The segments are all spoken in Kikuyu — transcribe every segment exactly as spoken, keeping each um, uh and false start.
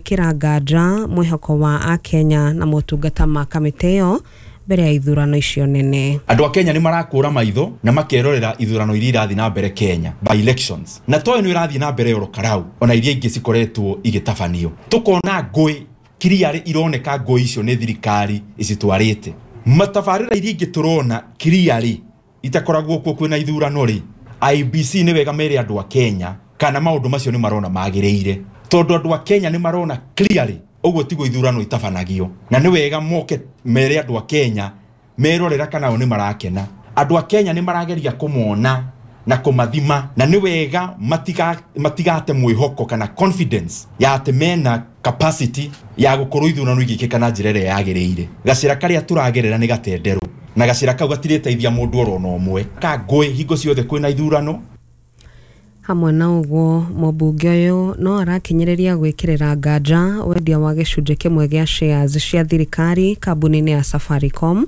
Gwĩkĩra nganja mwĩhoko wa akenya na motungata ma kamĩtĩ ĩyo mbere ya ithurano icio nene. Andũ a Kenya nĩ marakũra maitho na makerorera ithurano iria irathiĩ na mbere Kenya by elections, na toyo nĩ ĩrathiĩ na mbere oro karau ona iria ingĩ cikoretwo igĩtabanio, tukona ngũĩ clearly ironeka ngũĩ icio nĩ thirikari icitwarĩte. Matabarĩra iria ingĩ tũrona clearly itakoragwo kuo kwĩna ithurano rĩ, I E B C nĩ wega mere andũ a Kenya kana maũndũ macio nĩ marona magĩrĩire, tondũ andũ a Kenya nĩ marona clearly ũguo tiguo ithurano itabanagio, na nĩ wega moke mere andũ a Kenya merorera kana o nĩ marakena. Andũ a Kenya nĩ marageria kũmona na kũmathima, na nĩ wega matiga, matigate mwĩhoko kana confidence ya atĩ mena capacity ya gũkorwo ithurano igĩkĩka na njĩra ĩrĩa yagĩrĩire. Gacĩra karĩa tũragerera nĩ gatenderũ, na gacĩra kau gatirĩteithia mũndũ oro na ũmwe ka ngũĩ hingo ciothe kwĩna ithurano. Hamwe na ũguo, mũmbunge ũyũ no arakinyĩrĩria gwĩkĩrĩra nganja wendia wa gĩcunjĩ kĩmwe gĩa shares cia thirikari kambuni-inĩ ya Safaricom,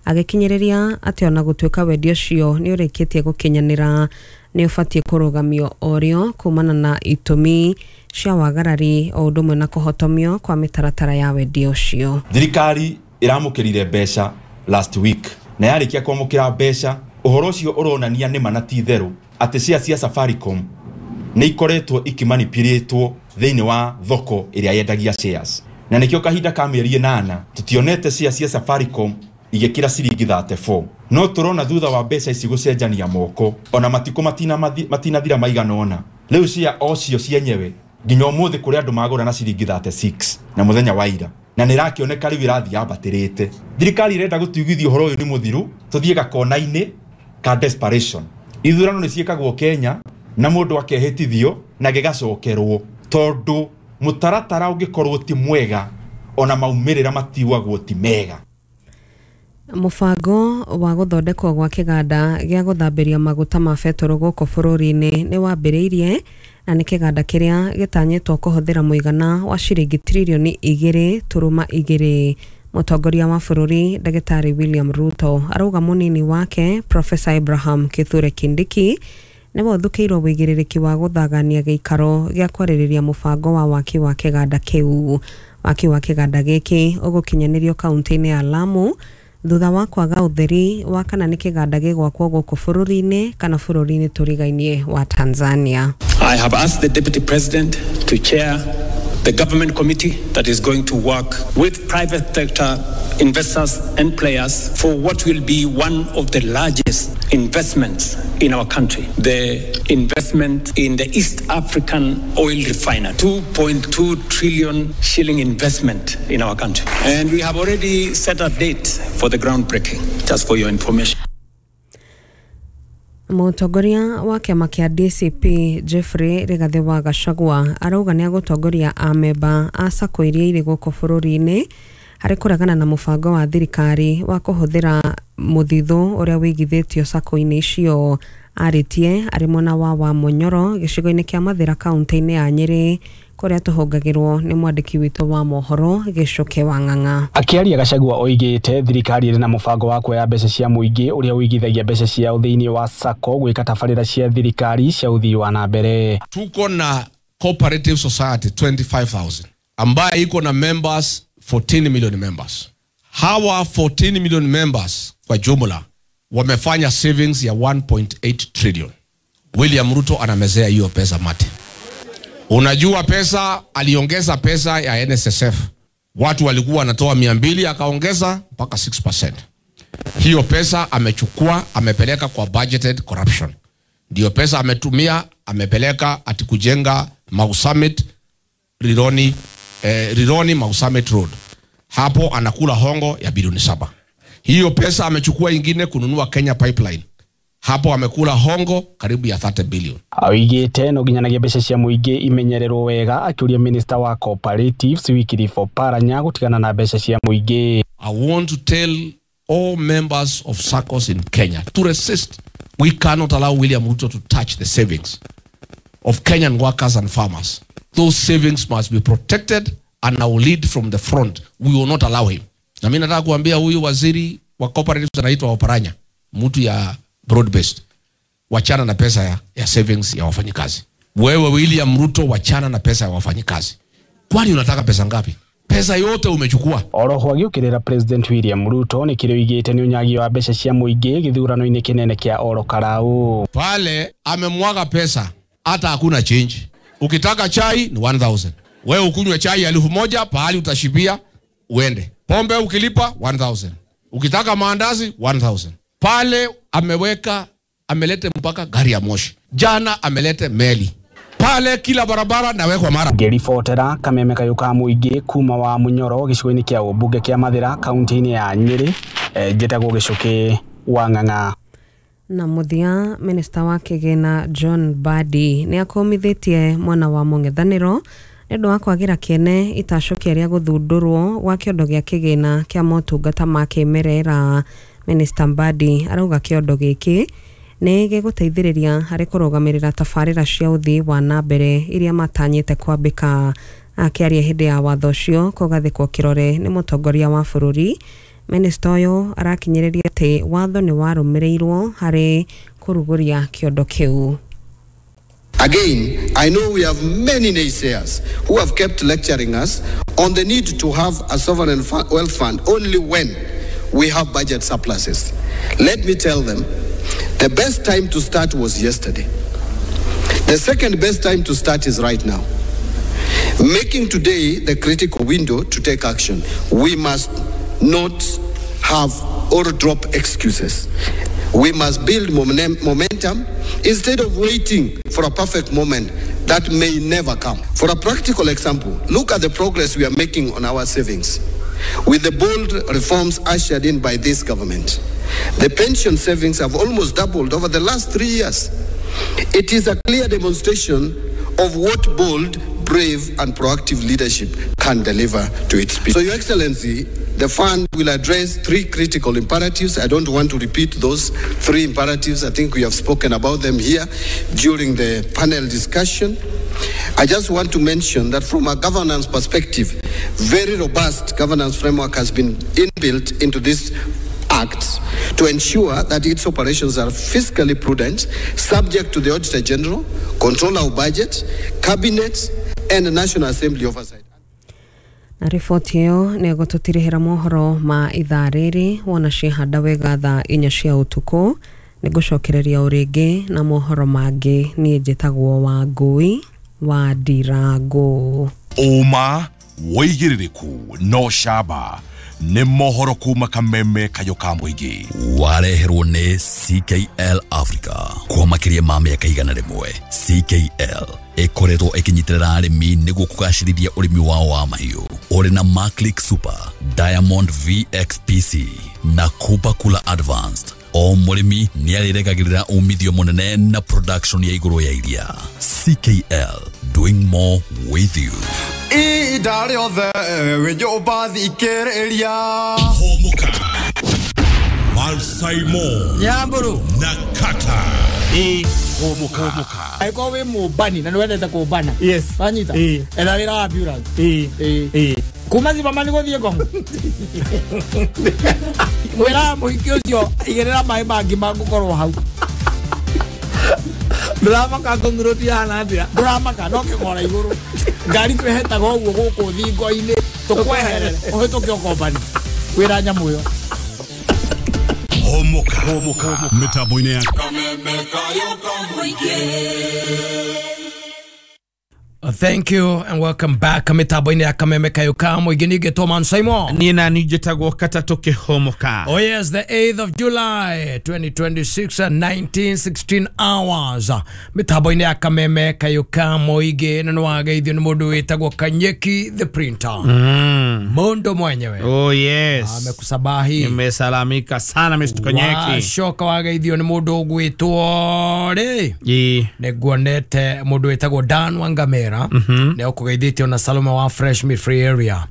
agĩkinyĩrĩria atĩ ona gũtuĩka wendia ũcio nĩ ũrĩkĩtie gũkinyanĩra, nĩ ũbatiĩ kũrũgamio orĩo kumana na itũmi cia wagarari o ũndũ ũmwe na kũhotomio kwa mĩtaratara ya wendia ũcio. Thirikari ĩramũkĩrire mbeca last week, na yarĩkia kwamũkĩra mbeca, ũhoro ũcio ũronania nĩ ma na ti itherũ atĩ share cia Safaricom nĩ ikoretwo ikĩmanipulĩtwo thĩinĩ wa thoko ĩrĩa yendagia shares, na nĩkĩo kahinda ka mĩeri ĩnana tũtionete share cia Safaricom igĩkĩra ciringi mĩrongo ĩtatũ na inya. No tũrona thutha wa mbeca ici gũcenjania moko, ona matukũ matina matinathira maigana ũna, rĩu share o cio cienyewe nginya ũmũthĩ kũrĩ andũ magũra na ciringi mĩrongo ĩtatũ na ithathatũ na mũthenya wa ira, na nĩ ĩrakĩoneka rĩu ĩrathiĩ yambatĩrĩte. Thirikari ĩrenda gũtuigithia ũhoro ũyũ nĩ mũthiru, tũthiĩ gakona-inĩ ka desperation. Ithurano nĩ ciĩkagwo Kenya na mũndũ akehĩtithio na gĩgacokerwo, tondũ mũtaratara ũngĩkorwo ti mwega, ona maumĩrĩra matiuagwo ti mega. Mũbango wa gũthondekwo gwa kĩganda gĩa gũthambĩria maguta ma betũrũ gũkũ bũrũri-inĩ nĩ wambĩrĩirie, na nĩ kĩganda kĩrĩa gĩtanyĩtwo kũhũthĩra mũigana wa ciringi tririoni igĩrĩ turuma igĩrĩ. Mũtongoria wa bũrũri Ndagĩtarĩ William Ruto arauga mũnini wake Professor Abraham Kithure Kindiki nĩwe ũthukĩirwo wĩigĩrĩrĩki wa gũthagania gĩikaro gĩa kwarĩrĩria mũbango wa waki wa kĩganda kĩu. Waki wa kĩganda gĩkĩ ũgũkinyanĩrio kaunti-inĩ ya Lamu thutha wa kwaga ũtheri wa kana nĩ kĩganda gĩgwakwo gũkũ bũrũri-inĩ kana bũrũri-inĩ tũrigainie wa Tanzania. I have asked the Deputy President to chair the government committee that is going to work with private sector investors and players for what will be one of the largest investments in our country, the investment in the East African oil refinery, two point two trillion shilling investment in our country. And we have already set a date for the groundbreaking, just for your information. Mũtongoria wa kĩama kĩa D C P Jeffrey Rigathĩ wa Gachagua arauga nĩ agũtongoria amemba a SACCO iria irĩ gũkũ bũrũri-inĩ harĩ kũregana na mũbango wa thirikari wa kũhũthĩra mũthithũ ũrĩa wĩigithĩtio SACCO-inĩ icio. Arĩtie arĩ mwena wa Wamunyoro gĩcigo-inĩ kĩa Mathĩra kaunti-inĩ ya Nyĩrĩ, kũrĩa tũhũngagĩrwo nĩ mwandĩki witũ wa mohoro Gĩcũke wa Ng'ang'a. Akĩaria, Gachagua oigĩte thirikari ĩrĩ na mũbango wa kuoya mbeca cia mũingĩ ũrĩa ũigithagia mbeca ciao thĩinĩ wa SACCO gwĩka tabarĩra cia thirikari cia ũthii wa na mbere. Tuko na cooperative society twenty-five thousand ambaye iko na members fourteen million members. Hawa fourteen million members kwa jumla wamefanya savings ya one point eight trillion. William Ruto anamezea hiyo pesa mate. Unajua pesa, aliongeza pesa ya N S S F. Watu walikuwa wanatoa mia mbili, akaongeza mpaka six percent. Hiyo pesa amechukua, amepeleka kwa budgeted corruption. Ndio pesa ametumia, amepeleka ati kujenga Mau Summit Rironi, eh, Rironi Mau Summit Road. Hapo anakula hongo ya bilioni saba. Hiyo pesa amechukua ingine kununua Kenya Pipeline. Hapo amekula hongo karibu ya thirty billion. Oigĩte no nginyanagia mbeca cia mũingĩ imenyererwo wega, akĩũria minister wa cooperatives Wycliffe Oparanya gũtigana na mbeca cia mũingĩ. I want to tell all members of SACCOs in Kenya to resist. We cannot allow William Ruto to touch the savings of Kenyan workers and farmers. Those savings must be protected, and I will lead from the front. We will not allow him. Na mimi nataka kuambia huyu waziri wa cooperatives anaitwa Oparanya, mtu ya broad based. Wachana na pesa ya, ya savings ya wafanyikazi. Wewe William Ruto, wachana na pesa ya wafanyikazi. Kwani unataka pesa ngapi? Pesa yote umechukua. Oroho agĩũkĩrĩra President William Ruto nĩ kĩrĩa oigĩte nĩ ũnyagi wa mbeca cia mũingĩ gĩthurano-inĩ kĩnene kĩa Oro Karau. Pale amemwaga pesa hata hakuna change. Ukitaka chai ni one thousand. Wewe ukunywe chai elfu moja pahali utashibia uende. Pombe ukilipa one thousand. Ukitaka maandazi one thousand. Pale ameweka, amelete mpaka gari ya moshi. Jana amelete meli. Pale kila barabara nawekwa mara. Ngĩribotera kameme kayũ ka mũingĩ kuma wa Munyoro gĩcigo-inĩ kĩa ũmbunge kĩa Mathĩra kaunti-inĩ ya Nyĩrĩ, njĩtagwo Gĩcũkĩ wa Ng'ang'a. Na mũthia, minista wa kĩgĩna John Mbadi nĩ akũmithĩtie mwena wa mũng'ethanĩro nĩ ũndũ wa kwagĩra kĩene itacũkia rĩa gũthundũrwo gwa kĩondo gĩa kĩgĩna kĩa motungata ma kĩmerera. Minista Mbadi arauga kĩondo gĩkĩ nĩ gĩgũteithĩrĩria harĩ kũrũgamĩrĩra tabarĩra cia ũthii wa na mbere iria matanyĩte kwambĩka. Akĩaria hĩndĩ ya watho ũcio kũgathĩkwo kĩrore nĩ mũtongoria wa bũrũri, minista ũyũ arakinyĩrĩria atĩ watho nĩ warũmĩrĩirwo harĩ kũrugũria kĩondo kĩu. Again, I know we have many naysayers who have kept lecturing us on the need to have a sovereign wealth fund only when we have budget surpluses. Let me tell them, the best time to start was yesterday. The second best time to start is right now. Making today the critical window to take action. We must not have or drop excuses. We must build momentum instead of waiting for a perfect moment that may never come. For a practical example, look at the progress we are making on our savings. With the bold reforms ushered in by this government, the pension savings have almost doubled over the last three years. It is a clear demonstration of what bold, brave, and proactive leadership can deliver to its people. So, Your Excellency, the fund will address three critical imperatives. I don't want to repeat those three imperatives. I think we have spoken about them here during the panel discussion. I just want to mention that from a governance perspective, very robust governance framework has been inbuilt into this Act to ensure that its operations are fiscally prudent, subject to the Auditor General, control our budget, Cabinet, and the National Assembly oversight. Na riboti ĩyo nĩ ĩgũtũtirihĩra mohoro ma ithaa rĩrĩ wona ciehanda wega thaa inya cia ũtukũ. Nĩ ngũcokereria o rĩngĩ na mohoro mangĩ. Niĩ njĩtagwo Wangũi wa Ndirango. Ũma wĩigĩrĩrĩku no camba nĩ mohoro kuma kameme kayo ka mũingĩ wareherwo nĩ C K L Africa kwa makĩria ma mĩaka igana rĩmwe. C K L ĩkoretwo ĩkĩnyitĩrĩra arĩmi nĩguo kũgacĩrithia ũrĩmi wao wa mahiũ ũrĩ na Maclick Super, Diamond V X P C na Kupa Kula Advanced. O mũrĩmi nĩarĩrekagĩrĩra umithio mũnene na production ya igũrũ ya iria. C K L, doing more with you. Ihinda rĩothe wĩ nyũmba thikĩrĩria. Homoka Malsaimo Nyamburu na Kata. E Homoka. Angĩkorwo wĩ mũmbani na nĩwendete kũmbana. Yes. Wanyita? Etha wĩra wa ambulance. Ĩĩ. Kuma Zimmerman gũthiĩ Ngong. Wĩra mũhiki ũcio igĩrĩra maĩ mangĩ mangũkorwo hau. Ndũramaka Ngong Road ihana atĩa? Ndũramaka no kĩgora igũrũ. Ngari twĩhetaga ũguo gũkũ thingo-inĩ tũkweherere ũhĩtũke ũkombani. Wĩra nyamũ ĩyo. Homoka. Homoka. Mĩtambo-inĩ ya Thank you and welcome back. Mitambo-inĩ ya Kameme Kayo ka Mũingĩ ningĩ Man Simon. Niĩ na niĩ njĩtagwo Katatũ Kĩhomoka. Oh yes, the eighth of July twenty twenty-six at nineteen sixteen hours. Mitambo-inĩ ya Kameme Kayo ka Mũingĩ na nĩwageithio nĩ mũndũ wĩtagwo Kanyeki the Printer. Mm. Mũndũ mwenyewe. Oh yes. Amekusabahi. Nimesalamika sana Mister Kanyeki. Wacoka wageithio nĩ mũndũ ũgwĩtwo rĩ. Ĩĩ. Nĩnguonete mũndũ wĩtagwo Dan Wangamera. Mm-hmm. Leo kugaithitio na Salome wa Fresh Meat Free Area.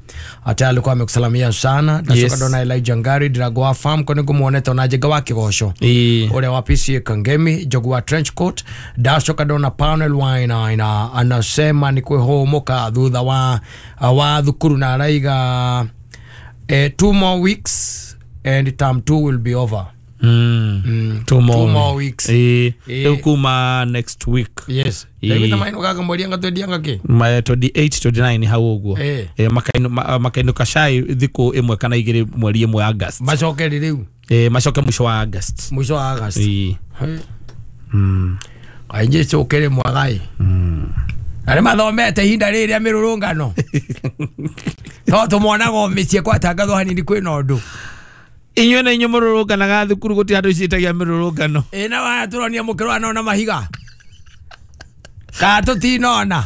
Ata alikuwa amekusalamia sana. Ndacoka Yes. ndona Elijah Ngari Ndirago wa farm ko nĩngũmuonete ona Njega wa Kĩgoco. Ĩĩ. Ũrĩa wa P C A Kangemi Njogu wa trench coat. Ndacoka ndona Panel Wainaina anasema ni kwĩhũmũka thutha wa wa thukuru na araiga eh, two more weeks and term two will be over. Mm. Mm. Two more, Two more weeks. Eh, Eh. rĩu kuma next week. Yes. Ĩĩ. Ndaiguĩte mainũkaga mweri anga twendianga kĩ Ma twenty-eight twenty-nine hau ũguo. Eh. Eh, makainu- ma- makainũka cai thikũ ĩmwe kana igĩrĩ mweri ĩmwe August. Macoke rĩ rĩu? Eh, macoke mũico wa August. Mũico wa August. Ĩĩ. Mm. Kaingĩ cũkĩrĩ mwega ĩ. Arĩa mathomete ihinda rĩrĩ rĩa mĩrũrũngano to tũmonaga o mĩciĩ kwatangathwo hanini kwĩna ũndũ. Inyuĩ na inyuĩ mũrũrũnganaga thukuru gũtirĩ andũ ciĩtagia mĩrũrũngano. Ĩ na waya tũronia mũkĩrũa nona mahiga kana tũtinona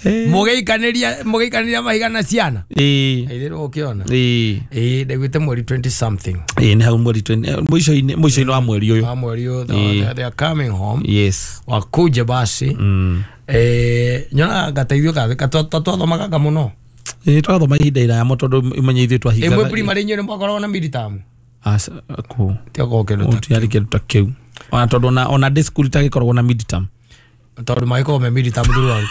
mũgĩikanĩria mũgĩikanĩria mahiga na ciana. Ĩĩ. Itherũ ũkĩona. Ĩĩ. Ĩ ndaiguĩte mweri twenty something. Ĩĩ nĩ hau mweri twenty mũico-inĩ mũico-inĩ wa mweri ũyũ. Wa mweri ũyũ, Ĩĩ. they, they are coming home. Yes. Wakuje basi. Mm. Eh, nyonaga gateithio ka twathomaga mũno. Ĩĩ twathoma ihinda iraya mũno tondũ ũmenye ithuĩ twahingaga. Ĩmwe primary inyuĩ nĩ mwakoragwo na midterm? Aca kũ. Tiakoragwo kĩndũ ta Gũtiarĩ kĩndũ ta kĩu. Ona tondũ ona ona ndĩ cukuru itagĩkoragwo na midterm. Tondũ magĩkoragwo me midterm throughout.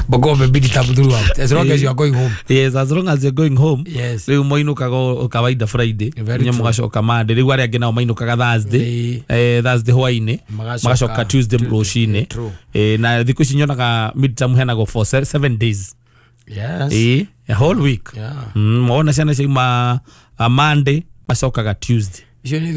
Makoragwo me midterm throughout. As long as you are going home. Yes, as long as you're going home. Yes. Rĩu moinũkaga o kawaida Friday. Very Inyuĩ true. mũgacoka Monday. Rĩu arĩa angĩ nao mainũkaga Thursday. Eh, Thursday hwaĩ-inĩ. Magacoka Magacoka Tuesday rũcinĩ. True. Eh, na thikũ ici nyonaga midterm heanagwo for se- seven days. Yes. Eh, a whole week. Yeah. Mm, wona ciana ciauma uh, Monday macokaga Tuesday. Icio nĩ